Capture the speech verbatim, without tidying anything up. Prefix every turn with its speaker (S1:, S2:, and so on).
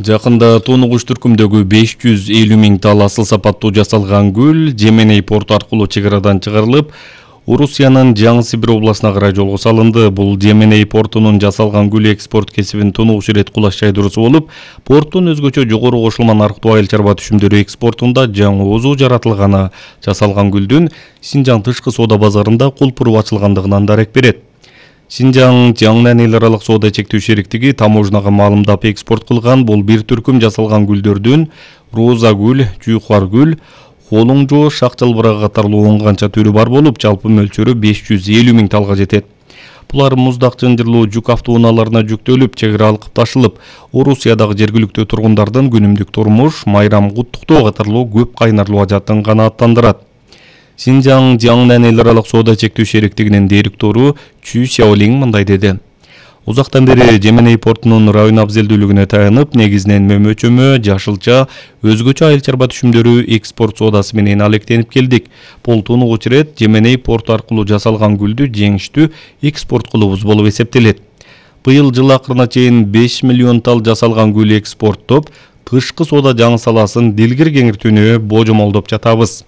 S1: Жакында Тонугуш түркүмдөгү беш жүз элүү миң тал асыл сапаттуу жасалган гүл Жеменей порту аркылуу чек арадан чыгарылып, Орусиянын Жаңы Сибир областына карай жолго салынды. Бул Жеменей портунун жасалган гүл экспорт кесибин тунугуш ирет кулаш жайдыруусу болуп, порттун өзгөчө жогору кошулма нарктуу айыл чарба түшүмдөрү экспортунда жаңоозу жаратылганы жасалган гүлдүн Синжаң тышкы соода базарында кулпуруп ачылгандыгынан дарек берет. Синжаң Жаңнан эл аралык соода чектөө шериктиги таможнага маалымдап экспорт кылган бул бир түркүм жасалган гүлдөрдүн роза гүл, жуйкар гүл, холуңжо, шак жалбырагы катарлуу он канча түрү бар болуп, жалпы мөлчөрү беш жүз элүү миң талга жетет. Булар муздак жынжырлуу жүк автоунааларына жүктөлүп, чек ара алкып ташылып, Орусиядагы жергиликтүү тургундардын күнүмдүк турмуш, майрам куттуктоо катарлуу көп кайнарлуу ажатын канааттандырат. Синжаң Жаңнан эл аралык соода чектөө шериктигинин директору Чү Сяолинг мындай деди. Узактан бери Жеменей портунун район абзелдүүлүгүнө таянып, негизинен мөмө-чөмө, жашылча, өзгөчө айыл чарба түшүмдөрү экспорт соодасы менен алектенип келдик. Бул тунугуч ирет Жеменей порту аркылуу жасалган гүлдү жеңиштүү экспорт кылуубуз болуп эсептелет. Быйыл жыл акырына чейин беш миллион тал жасалган гүл экспорттоп, тышкы соода жаңы саласын дилгир кеңиртүүнү божомолдоп жатабыз.